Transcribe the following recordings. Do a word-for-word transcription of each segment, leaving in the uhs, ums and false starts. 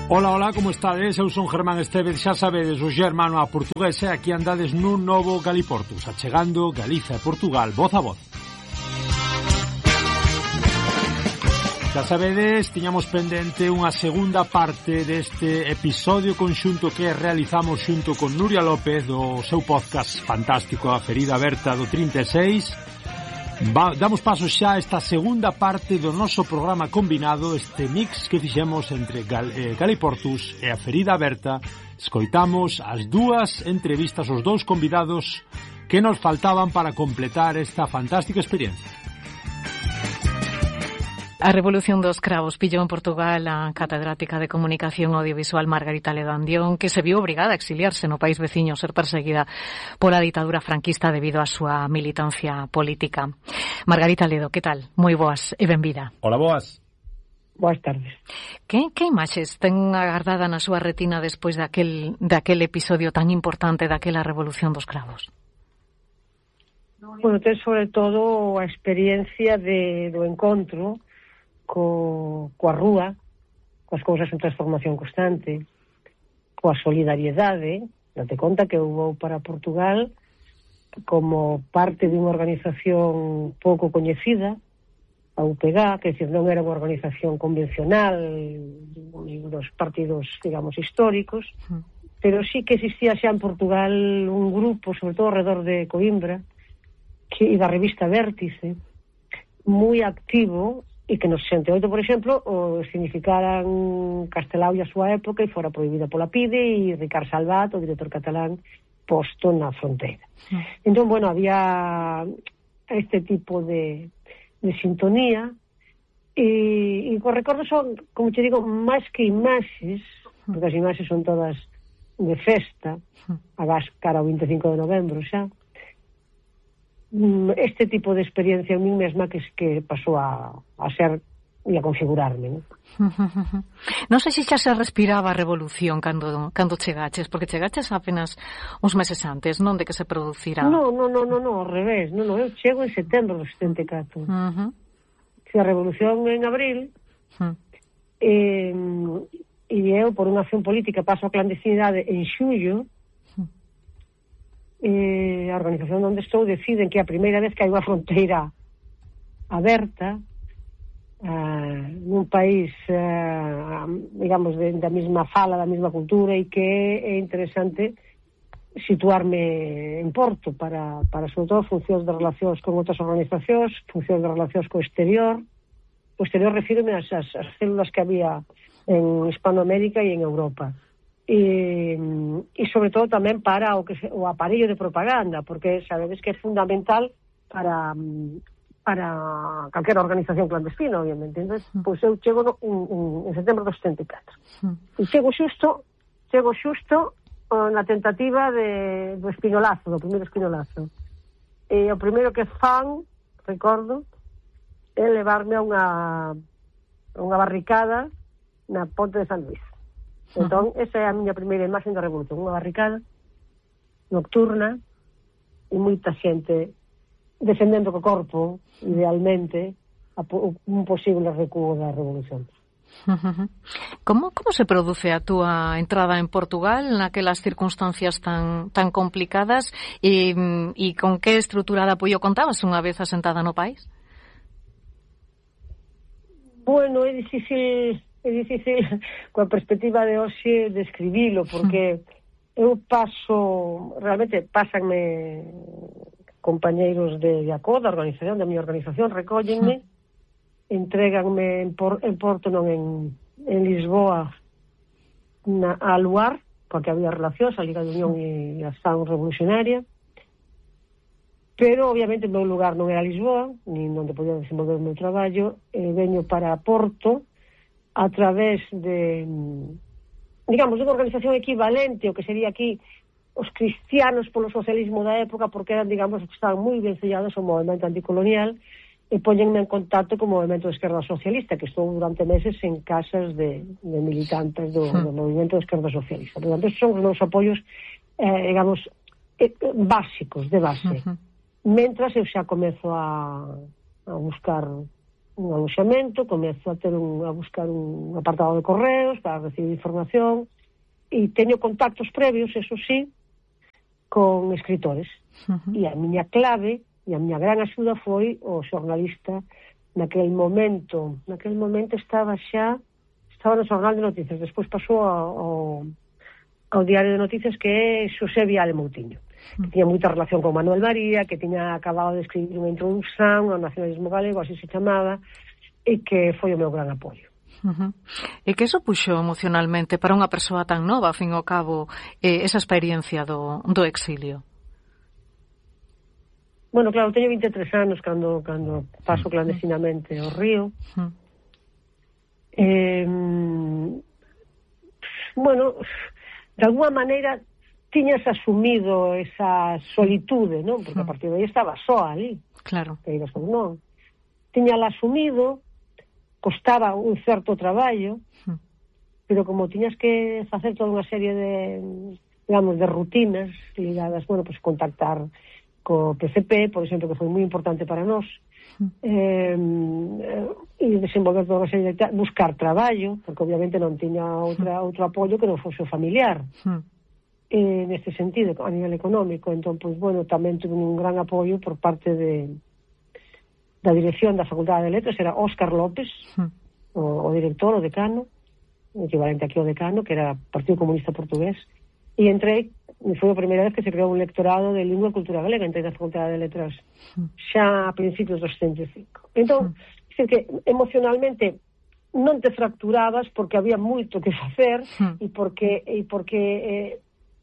Ola, ola, como estades? Eu son Germán Estevez, xa sabedes, o xermano a portugués, e aquí andades nun novo Galiportus, achegando Galiza e Portugal, voz a voz. Xa sabedes, tiñamos pendente unha segunda parte deste episodio conxunto que realizamos xunto con Nuria López do seu podcast fantástico A Ferida Aberta do trinta e seis. Va, damos paso xa a esta segunda parte do noso programa combinado, este mix que fixemos entre Gal, eh, Galiportus e A Ferida Aberta. Escoitamos as dúas entrevistas, os dous convidados que nos faltaban para completar esta fantástica experiencia. A Revolución dos Cravos pillou en Portugal a catedrática de Comunicación Audiovisual Margarita Ledo Andión, que se viu obrigada a exiliarse no país veciño, ser perseguida pola ditadura franquista debido á súa militancia política. Margarita Ledo, que tal? Moi boas e benvida. Hola, boas. Boas tardes. Que, que imaxes ten agardada na súa retina despois daquel, daquel episodio tan importante daquela Revolución dos Cravos? Bueno, ten sobre todo a experiencia de, do encontro co, coa rúa, coas cousas en transformación constante, coa solidariedade. Date conta que eu vou para Portugal como parte de unha organización pouco coñecida, a U P G A, que decir, non era unha organización convencional dos partidos, digamos, históricos, pero sí que existía xa en Portugal un grupo, sobre todo alrededor de Coimbra, que, e da revista Vértice, moi activo, e que nos sesenta e oito, por exemplo, o significaran Castelao e a súa época e fora prohibida pola P I D e Ricard Salvat, o director catalán, posto na fronteira. Mm. Entón, bueno, había este tipo de, de sintonía e, e os recordos son, como te digo, máis que imaxes, porque as imaxes son todas de festa, agás cara ao vinte e cinco de novembro xa. Este tipo de experiencia a mí mesma que, que pasou a, a ser e a configurarme, non? Non sei se xa se respiraba a revolución cando, cando chegaches, porque chegaches apenas uns meses antes, non, de que se producirá? Non, non, non, non, ao revés, non, non, eu chego en setembro do setenta e catro. Uh-huh. Se a revolución en abril, uh-huh. eh, e eu, por unha acción política, paso a clandestinidade en xullo. Eh, a organización onde estou deciden que a primeira vez que hai unha fronteira aberta uh, nun país uh, digamos de, da mesma fala, da mesma cultura, e que é interesante situarme en Porto para, para sobre todo funcións de relacións con outras organizacións, funcións de relacións co exterior. O exterior refírome ás, as, as células que había en Hispanoamérica e en Europa. E, e sobre todo tamén para o, que se, o aparello de propaganda, porque sabedes que é fundamental para para calquera organización clandestina, obviamente. Entón, pois eu chego no, en, en setembro do setenta e catro e chego xusto chego xusto na tentativa de, do espinolazo, do primeiro espinolazo, e o primeiro que fan, recordo, é levarme a unha a unha barricada na Ponte de San Luís. Entón, esa é a miña primeira imaxe da revolución, unha barricada nocturna e moita xente defendendo co corpo, idealmente, a, un posible recuo da revolución. Como, como se produce a túa entrada en Portugal naquelas circunstancias tan, tan complicadas e, e con que estrutura de apoio contabas unha vez asentada no país? Bueno, é difícil... É difícil, coa perspectiva de hoxe, describilo, porque eu paso, realmente, pásanme compañeiros de, de A C O, da organización, da miña organización, recóllenme, entréganme en, por, en Porto, non en, en Lisboa, na, a Luar, porque había relacións, a Liga de Unión e a Ação Revolucionaria, pero, obviamente, o meu lugar non era Lisboa, nin onde podía desenvolver o meu traballo, e veño para Porto, a través de, digamos, unha organización equivalente o que sería aquí os cristianos polo socialismo da época, porque eran, digamos, que estaban moi ben sellados ao movimento anticolonial, e poñenme en contacto co movimento de esquerda socialista, que estou durante meses en casas de, de militantes do, do movimento de esquerda socialista. Portanto, estes son os meus apoios, eh, digamos, eh, básicos, de base. Uh-huh. Mentras eu xa comezo a, a buscar un aloxamento, comezo a ter un, a buscar un apartado de correos para recibir información, e teño contactos previos, eso sí, con escritores. Uh-huh. E a miña clave e a miña gran axuda foi o xornalista naquel momento, naquel momento estaba xa estaba no Xornal de Noticias, despois pasou ao, ao Diario de Noticias, que é Xosé Viale Moutinho, que tiña moita relación con Manuel María, que tiña acabado de escribir unha introducción ao nacionalismo galego, así se chamaba, e que foi o meu gran apoio. Uh-huh. E que eso puxo emocionalmente para unha persoa tan nova, a fin e ao cabo, eh, esa experiencia do, do exilio? Bueno, claro, teño vinte e tres anos cando, cando paso clandestinamente ao río. Uh-huh. Eh, bueno, de alguma maneira tiñas asumido esa solitude, non? Porque a partir de aí estaba só ali. Claro. Queiras ou non. Tiñala asumido, costaba un certo traballo, uh-huh. pero como tiñas que facer toda unha serie de, digamos, de rutinas ligadas, bueno, pues contactar co P C P, por exemplo, que foi moi importante para nós, uh-huh. eh, e desenvolver toda unha serie de... buscar traballo, porque obviamente non tiña outra, uh-huh. outro apoio que non fose o familiar. Uh-huh. Eh, neste sentido, a nivel económico. Entón, pois, bueno, tamén tuve un gran apoio por parte de da dirección da Facultade de Letras, era Óscar López, hmm. o, o director, o decano, equivalente aquí ao decano, que era Partido Comunista Portugués, e entrei, e foi a primeira vez que se creou un lectorado de lingua e cultura galega, entrei na Facultade de Letras hmm. xa a principios dos setenta e cinco. Entón, hmm. dicir que emocionalmente non te fracturabas porque había moito que facer hmm. e porque, e porque eh,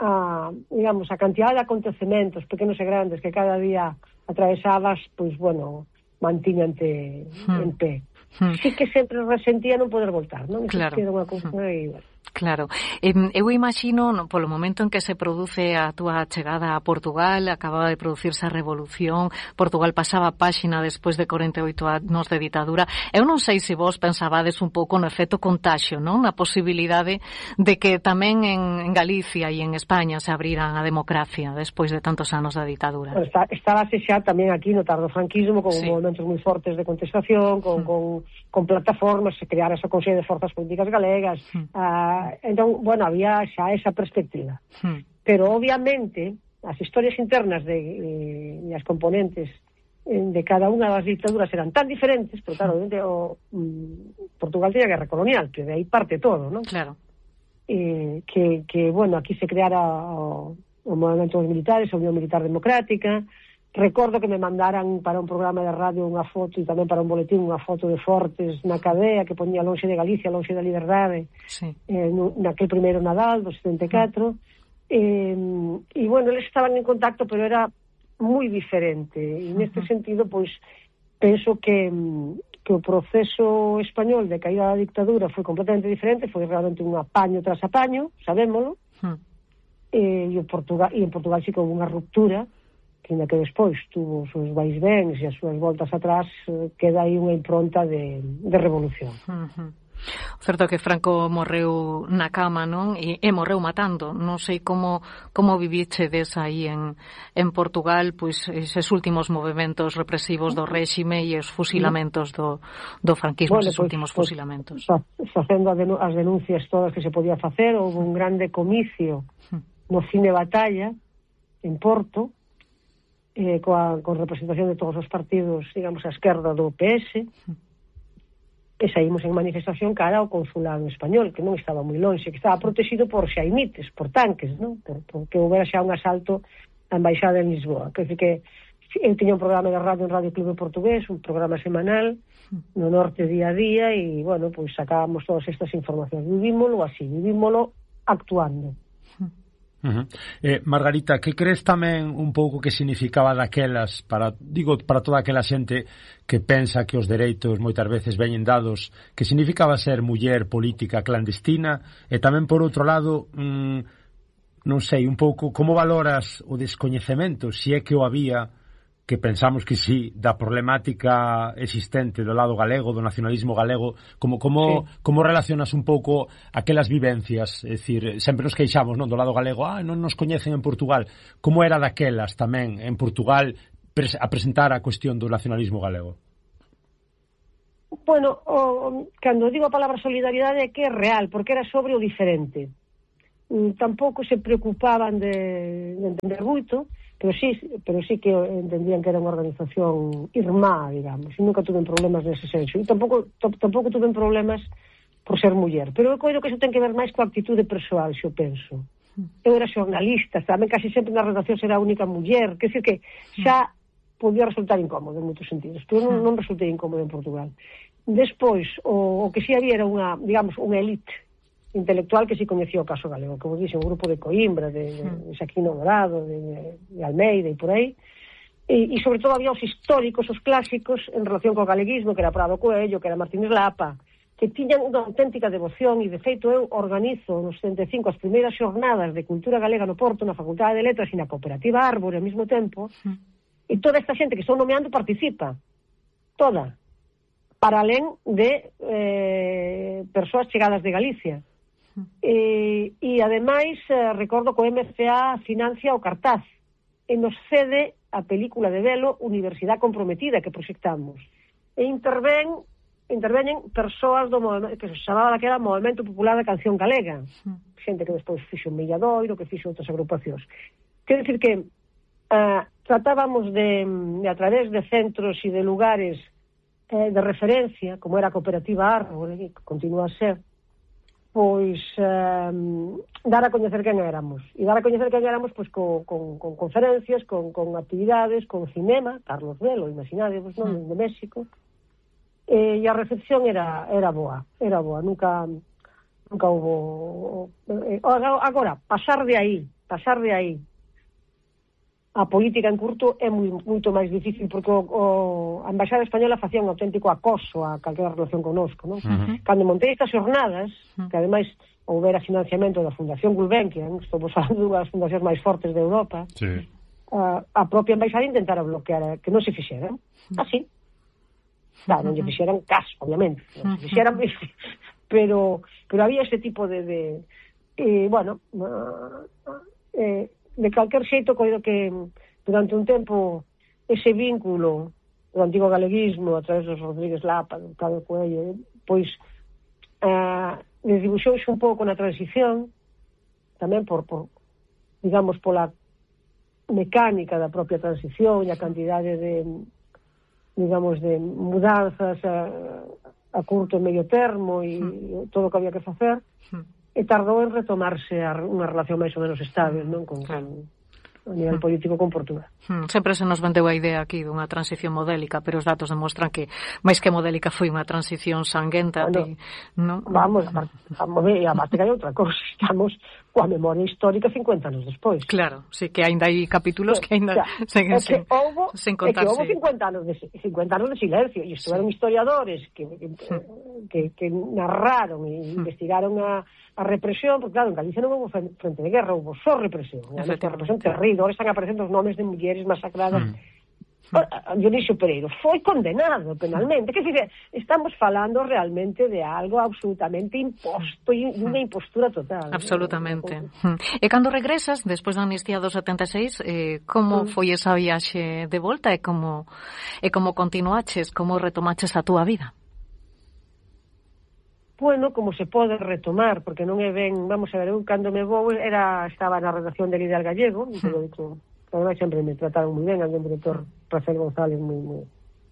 a, digamos, a cantidad de acontecementos pequenos e grandes que cada día atravesabas, pois, bueno, mantíñante hmm. en pé. Hmm. Sí que sempre resentía non poder voltar, non? Claro. Era unha cousa hmm. e, bueno. Claro. Eh, eu imagino, no, polo momento en que se produce a túa chegada a Portugal, acababa de producirse a Revolución, Portugal pasaba a páxina despois de corenta e oito anos de ditadura. Eu non sei se vos pensabades un pouco no efecto contaxio, non? Na posibilidade de que tamén en, en Galicia e en España se abriran a democracia despois de tantos anos da ditadura. Bueno, está, estábase xa tamén aquí no tardofranquismo con sí. movimentos moi fortes de contestación, con, mm. con, con plataformas, se creara esa Consello de Forzas Políticas Galegas, mm. a entón, bueno, había xa esa perspectiva. Hmm. Pero, obviamente, as historias internas de, e, e as componentes de cada unha das dictaduras eran tan diferentes, pero, claro, obviamente, o, mm, Portugal tiña guerra colonial, que de aí parte todo, non? Claro. Eh, que, que, bueno, aquí se creara o, o movimento dos militares, a Unión Militar Democrática. Recordo que me mandaran para un programa de radio unha foto e tamén para un boletín unha foto de Fortes na cadea que ponía lonxe de Galicia, lonxe da liberdade, sí. eh, naquel primeiro Nadal do setenta e catro. Mm. Eh, e, bueno, eles estaban en contacto, pero era moi diferente. E, neste uh-huh. sentido, pois, penso que, que o proceso español de caída da dictadura foi completamente diferente, foi realmente un apaño tras apaño, sabémolo, uh-huh. eh, e, o Portugal, e en Portugal sí que houve unha ruptura, que ainda que despois tuvo os seus vaisvéns e as súas voltas atrás, queda aí unha impronta de, de revolución. Uh-huh. Certo que Franco morreu na cama, non? E, e morreu matando. Non sei como como vivichedes aí en, en Portugal, pois eses últimos movimentos represivos do réxime e os fusilamentos do, do franquismo, bueno, eses pues, últimos pues, fusilamentos. Facendo as denuncias todas que se podía facer, houve un grande comicio no Cine Batalla, en Porto, Eh, coa, con representación de todos os partidos, digamos, a esquerda do P S, e saímos en manifestación cara ao consulado español, que non estaba moi lonxe, que estaba protegido por xaimites, por tanques, non? Por, porque houbera xa un asalto á embaixada en Lisboa. Que, que eu tiña un programa de radio en Radio Clube Portugués, un programa semanal no norte día a día, e, bueno, pois sacábamos todas estas informacións. Vivímolo así, vivímolo actuando. Uh-huh. Eh, Margarita, que crees tamén un pouco que significaba daquelas para, digo, para toda aquela xente que pensa que os dereitos moitas veces veñen dados, que significaba ser muller política clandestina, e tamén por outro lado, mmm, non sei, un pouco como valoras o descoñecemento, se é que o había, que pensamos que sí, da problemática existente do lado galego, do nacionalismo galego, como como sí. como relacionas un pouco aquelas vivencias, é dicir, sempre nos queixamos, non, do lado galego, ah, non nos coñecen en Portugal, como era daquelas tamén en Portugal pres- a presentar a cuestión do nacionalismo galego? Bueno, o, cando digo a palabra solidariedade é que é real, porque era sobre o diferente. Mm, tampouco se preocupaban de, de entender moito, pero sí, pero sí que entendían que era unha organización irmá, digamos, e nunca tuven problemas nese senso. E tampouco, tampouco tuven problemas por ser muller. Pero eu coido que iso ten que ver máis coa actitude persoal, se eu penso. Eu era xornalista, tamén casi sempre na redacción era a única muller, que decir que xa podía resultar incómodo en moitos sentidos, pero non, non resultei incómodo en Portugal. Despois, o, o que si había era unha, digamos, unha elite intelectual que si coñecía o caso galego, como dixe, un grupo de Coimbra, de, de, de Xaquino Dorado, de, de, de Almeida e por aí, e, e sobre todo había os históricos, os clásicos en relación co galeguismo, que era Prado Coello, que era Martínez Lapa, que tiñan unha auténtica devoción, e de feito eu organizo nos setenta e cinco as primeiras xornadas de cultura galega no Porto, na Facultade de Letras e na Cooperativa Árbore ao mesmo tempo, e toda esta xente que estou nomeando participa, toda, para alén de eh, persoas chegadas de Galicia. E, e ademais eh, recordo que o M C A financia o cartaz e nos cede a película de velo Universidade Comprometida que proxectamos, e interven interveñen persoas do movimento que se chamaba daquela Movimento Popular da Canción Galega, xente que despois fixo un Milladoiro, que fixo outras agrupacións. Quero dicir que uh, tratábamos de, de a través de centros e de lugares eh, de referencia, como era a Cooperativa Árbore, que continúa a ser, pois um, dar a coñecer quen éramos. E dar a coñecer quen éramos pois, con, con, con conferencias, con, con actividades, con cinema, Carlos Velo, imaginadevos, non? De México. E, e a recepción era, era boa, era boa, nunca nunca hubo... Eh, agora, pasar de aí, pasar de aí a política en curto é moi, moito máis difícil, porque o, o, a Embaixada Española facía un auténtico acoso a calquera relación conosco, non? Uh-huh. Cando montei estas xornadas, uh-huh. que ademais houbera financiamento da Fundación Gulbenkian, estamos falando dunha das fundacións máis fortes de Europa, sí. a, a propia Embaixada intentara bloquear que non se fixeran, así. Claro, non lle fixeran caso, obviamente, non se fixeran, pero, pero había ese tipo de... de e, bueno, eh, de calquer xeito, coido que durante un tempo ese vínculo do antigo galeguismo a través dos Rodríguez Lapa, do Prado Coello, pois uh, desdibuxouse un pouco na transición, tamén por, por digamos, pola mecánica da propia transición e a cantidade de, digamos, de mudanzas a, a curto e medio termo e mm. todo o que había que facer, mm. e tardou en retomarse a unha relación máis ou menos estable, non? Con, con, a nivel político con Portugal. Hmm, sempre se nos vendeu a idea aquí dunha transición modélica, pero os datos demostran que máis que modélica foi unha transición sanguenta. Bueno, de, ¿no? Vamos, a, a, e a parte que hai outra cosa, estamos coa memoria histórica cincuenta anos despois. Claro, sí que ainda hai capítulos que ainda o sea, seguen é que sen, houbo, sen contarse. É que houbo cincuenta anos de, cincuenta anos de silencio, e estuveron sí. historiadores que, que, hmm. que, que narraron e hmm. investigaron a a represión, porque claro, en Galicia non houve frente de guerra, houve só represión, unha represión terrible, agora están aparecendo os nomes de mulleres masacradas. Mm. Dionisio Pereiro foi condenado penalmente, que dizer, estamos falando realmente de algo absolutamente imposto e unha impostura total. Absolutamente. ¿No? E cando regresas, despois da amnistía do setenta e seis, eh, como mm. foi esa viaxe de volta e como, e como continuaches, como retomaches a túa vida? Bueno, como se pode retomar, porque non é ben, vamos a ver, eu cando me vou era, estaba na redacción del Ideal Gallego, un periódico, que además sempre me trataron moi ben, alguén director Rafael González moi, moi,